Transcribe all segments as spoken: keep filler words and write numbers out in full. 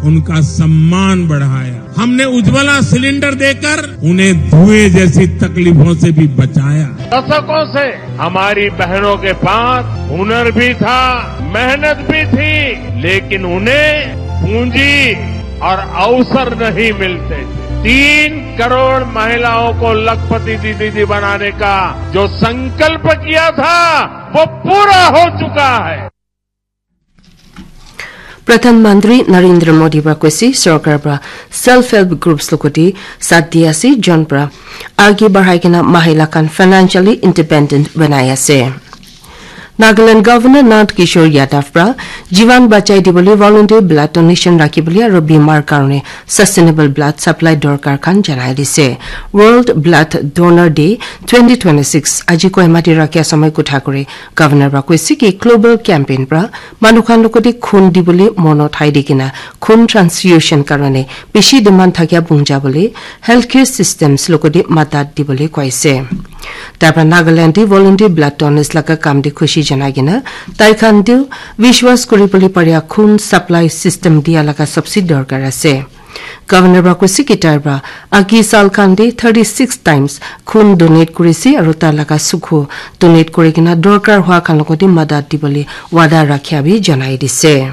उनका सम्मान बढ़ाया। हमने उज्ज्वला सिलेंडर देकर उन्हें धुएं जैसी तकलीफों से भी बचाया। दशकों से हमारी बहनों के पास हुनर भी था, मेहनत भी थी, लेकिन उन्हें पूंजी और अवसर नहीं मिलते थे। तीन करोड़ महिलाओं को लखपति दीदी बनाने का जो संकल्प किया था, वो पूरा हो चुका है। Pradhan Mantri Narendra Modi pra koise sorkar pra self help groups logoti sat di ase, jon pra age bahai kena mahila khan financially independent banai ase. Nagaland Governor Nand Kishore Yadav pra jivan bachai dibole volunteer blood donation rakhi bole aro bimar karone sustainable blood supply dorkar khan janai dise. World Blood Donor Day twenty twenty-six aji Kohima te rakhi ase moi kotha kore Governor pra koise ki global campaign pra manu khan logoti khun dibole mon uthai di kena khun transfusion karone bishi demand thakia bhungjabole healthcare systems logoti madat dibole koise. Tar pra Nagaland te volunteer blood donors laga kam te khushi janai kena tai khan tu vishwas kuri bole paria khun supply system dia laga sabse dorkar ase. Governor pra koise ki tar pra agi sal khan te thirty-six times khun donate kurise aro tar laga sukhu donate kuri kena dorkar hua khan logoti madat dibole wada rakhia bi janai dise.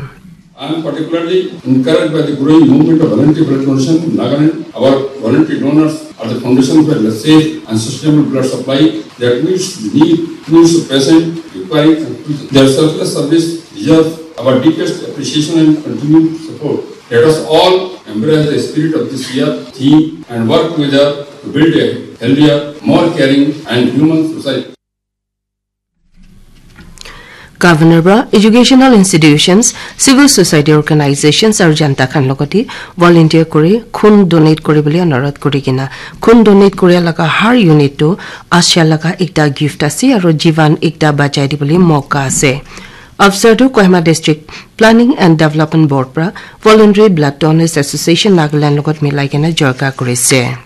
I am particularly encouraged by the growing movement of voluntary blood donation in Nagaland. Our voluntary donors are the foundation for a safe and sustainable blood supply that meets the need, needs of patients requiring transfusion. Their selfless service deserves our deepest appreciation and continued support. Let us all embrace the spirit of this year theme and work together to build a healthier, more caring and human society. Governor pra educational institutions, civil society organizations aru janta khan logoti volunteer kuri khun donate kuri bole anurodh kuri kena khun donate kuri laga har unit tu asha laga ekta gift ase aru jivan ekta bachai dibole moka ase. Afsar tu Kohima District Planning and Development Board pra Voluntary Blood Donors Association Nagaland logot milai kena jorka kurise.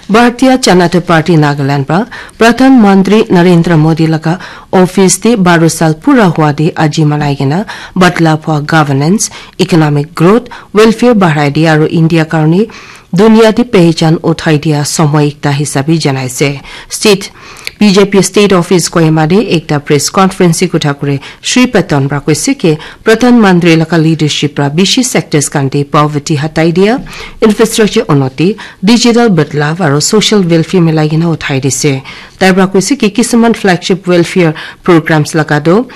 Bharatiya Janata Party Nagaland pra Pradhan Mantri Narendra Modi laga office te baro sal pura hua te aji manai kena badla pua governance, economic growth, welfare bahai dia aru India karne dunia te pehchan uthai dia somoy ekta hisabe janaise. State B J P State Office Kohima te ekta press conference te kotha kure Shri Patan pra koise ke Pradhan Mantri laga leadership pra bishi sectors khan te poverty hatai dia, infrastructure unnoti, digital badlav aru social welfare milai kena uthai dise. Tai pra koise ki kisuman flagship welfare programs laga do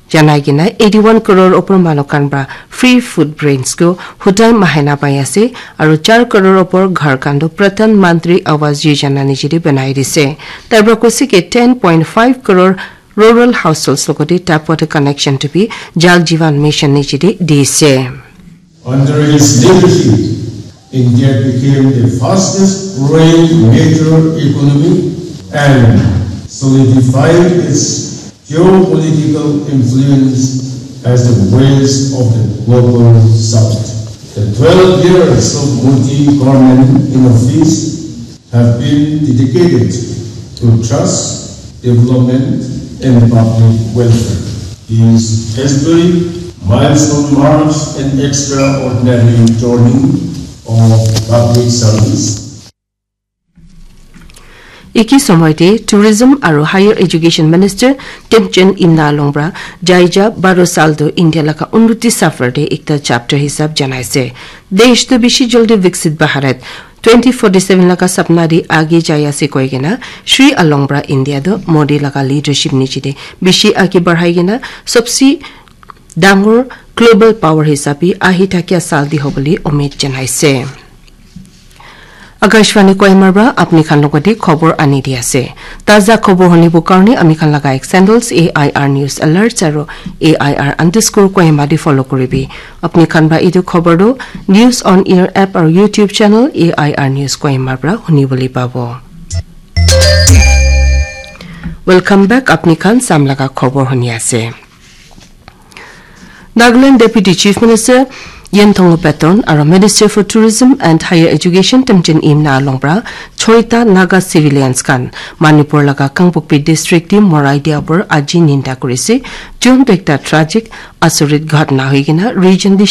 janai kena eighty one crore opor manu khan pra free food grains ko hutai mahina pai ase aru char crore opor ghar khan do Pradhan Mantri Awas Yojana niche te banai dise. Tai pra koise ki ten point five crore rural households logote tap water connection to bi Jal Jeevan Mission niche te dise. Under his leadership, India became the fastest growing major economy and solidified its geopolitical influence as the voice of the global south. The twelve years of Modi government in office have been dedicated to trust, development, and public welfare. His history, milestone marks an extraordinary journey of public service. Iki somoy te Tourism aru Higher Education Minister Temchen Imna Longbra jaija baro sal do India laga unnoti safar te ekta chapter hisab janaise. Desh to bishi jaldi Viksit Bharat twenty forty seven laga sapna di age jai ase koi kena Shri Alongbra India do Modi laga leadership niche te bishi age barhai kena sabse dangor global power hisabe ahi thakia sal di hobole umid janaise. Akashvani Kohima pra apni khan logote khobor ani di ase. Taza khobor hunibo karne ami khan laga ek sandals A I R News Alerts aru A I R underscore Kohima di follow kuribi. Apni khan pra etu khobor tu News on Air app aru YouTube channel A I R News Kohima pra huni bole pabo. Welcome back, apni khan sam laga khobor huni ase. Nagaland Deputy Chief Minister Yen Thongo Peton aru Minister for Tourism and Higher Education Temchen Imna Longbra choita Naga civilians khan Manipur laga Kangpokpi district te morai dia por aji ninda kurise. Jun tu ekta tragic asorit ghatna hoi kena region te